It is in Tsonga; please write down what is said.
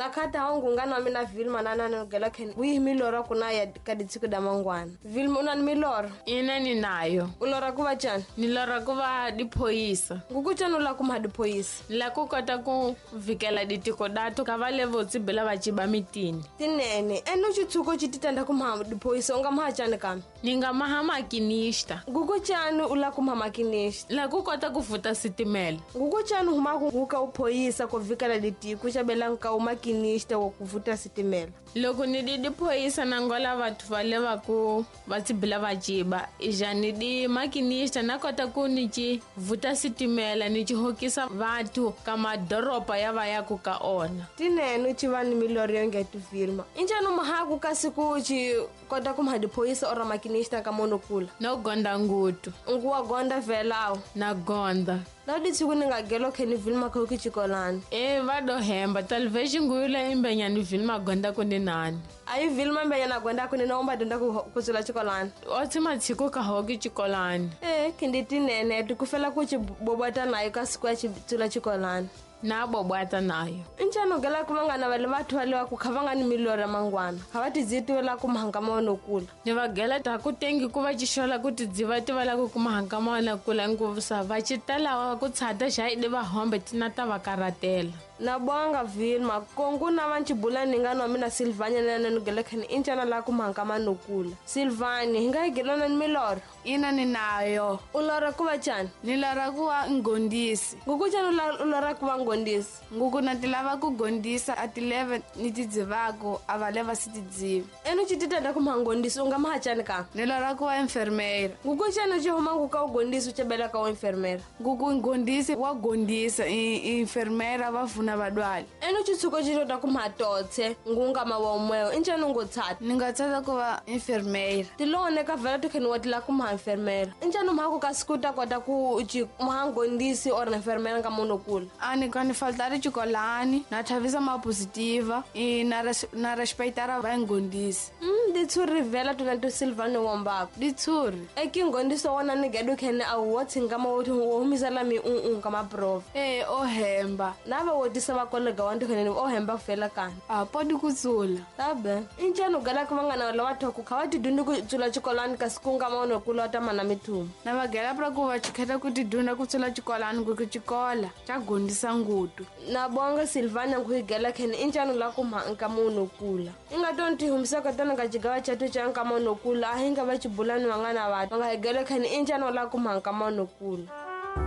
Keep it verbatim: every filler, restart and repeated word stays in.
Na khata ha ngungana wa mina Vilma na na nogela khen wihi miloro kuna ya ka ditsiko da mangwana. Vilma una ni miloro? Ina ni nayo. U lora ku va tjani? Ni lora ku va diphoyisa. Nguku tjani u la ku mha diphoyisa? Ni la ku kota ku vikela ditiko dato ka va le vo tsibela va ciba mitini. Tinene, ene u xitshuko xi titanda ku mha diphoyisa u nga mha tjani kambe? Ni nga maha makinista. Nguku tjani u la ku mha makinista? La ku kota ku futa sitimela. Nguku tjani huma ku ka u phoyisa ku vikela ditiko xabela nka u makinista wa ku vuta sitimela. Loko ni di diphoyisa na ngola vathu va le va ku va tsibila va ciba ija ni di makinista na kota ku ni ci vuta sitimela ni ci hokisa vathu ka madoroba ya va ya ku ka ona. Tinene u ci va ni milorho yo nge Vilma. Injani mahaku kasi ku ci kota ku mha diphoyisa or makinista ka mono kula? No gonda ngutu. Ngu wa gonda vela awu? Na gonda. Na di tsiku ni nga gelo kheni Vilma kho ki chikolani. E va do hemba talvez nguyula imbenya ni Vilma gonda ku ni nani. Ayi Vilma mbenya na gonda ku ni na umba donda ku ku tsula chikolani. O tsima tshiko ka ho ki chikolani. E khindi tinene ti kufela ku chi bobata nayo ka siku ya chi tsula chikolani. Na bobata nayo. Injani gela ku vangana va le vathu va le va ku kha va nga ni milorho ya mangwana. Kha va ti dzitiwela ku mhanga ma wona kula. Ni va gela ta ku tengi ku va xixola ku ti dziva ti va la ku kuma hanga ma wona kula ngopfu va ci tala ku tshata xa i va hombe tina ta va karatela. Na bonga Vilma kongu na va ncibula ni nga no mina Silvania na na gela khani injana la ku mhanga ma nokula. Silvani hi nga gelona ni milorho? Ina ni nayo. U lora ku va tjani? Ni lora ku va ngondisi. Nguku tjani u lora ku va ngondisi? Nguku na ti lava ku gondisa a ti leve ni ti dzivako a va leva si ti dzivi. Ene u ci titanda ku mha ngondisi u nga mha tjani ka? Ni lora ku va enfermeira. Nguku tjani u ci huma ku ka u gondisi u cebela ka u enfermeira? Nguku ngondisi wa gondisa i enfermeira va funa vadwali. Ene u ci tshuko ci tota ku mha totse ngunga ma wa umweyo injani u ngo tshata? Ni nga tshata ku va enfermeira. Tilone ka vela ti kheni wa tila ku mha enfermeira. Injani mha ku ka siku ta kota ku ci mha ngondisi or enfermeira ka munhu kula? A ni ka ni faltari chikolani na thavisa ma positiva i na res, na respectara va ngondisi. Mm ditshuri vela tuna to Silvano wombako. Ditshuri. E ki ngondiso wona ni gedu khene a wo tsinga ma wo humisela mi un un ka ma prova. E o hemba. Na va wo tisa va kolega wa ndikhene o hemba fela kana. A podi kutsula. Tabe. Injani gala ku vangana la batho ku kha va ti ku tsula chikolani ka sikunga ma ono kula ta mana mithumu. Na va gela pra ku va chikheta ku ti dunda ku tsula chikolani ku ku chikola cha gondisa ngutu. Na bonga Silvana ku gela khene injani la ku mha nka munhu kula. Inga tonti humisa ka tona ka chigawa chathu cha nka munhu kula a hinga va chibulani vangana va. Nga gela khene injani la ku mha nka munhu kula.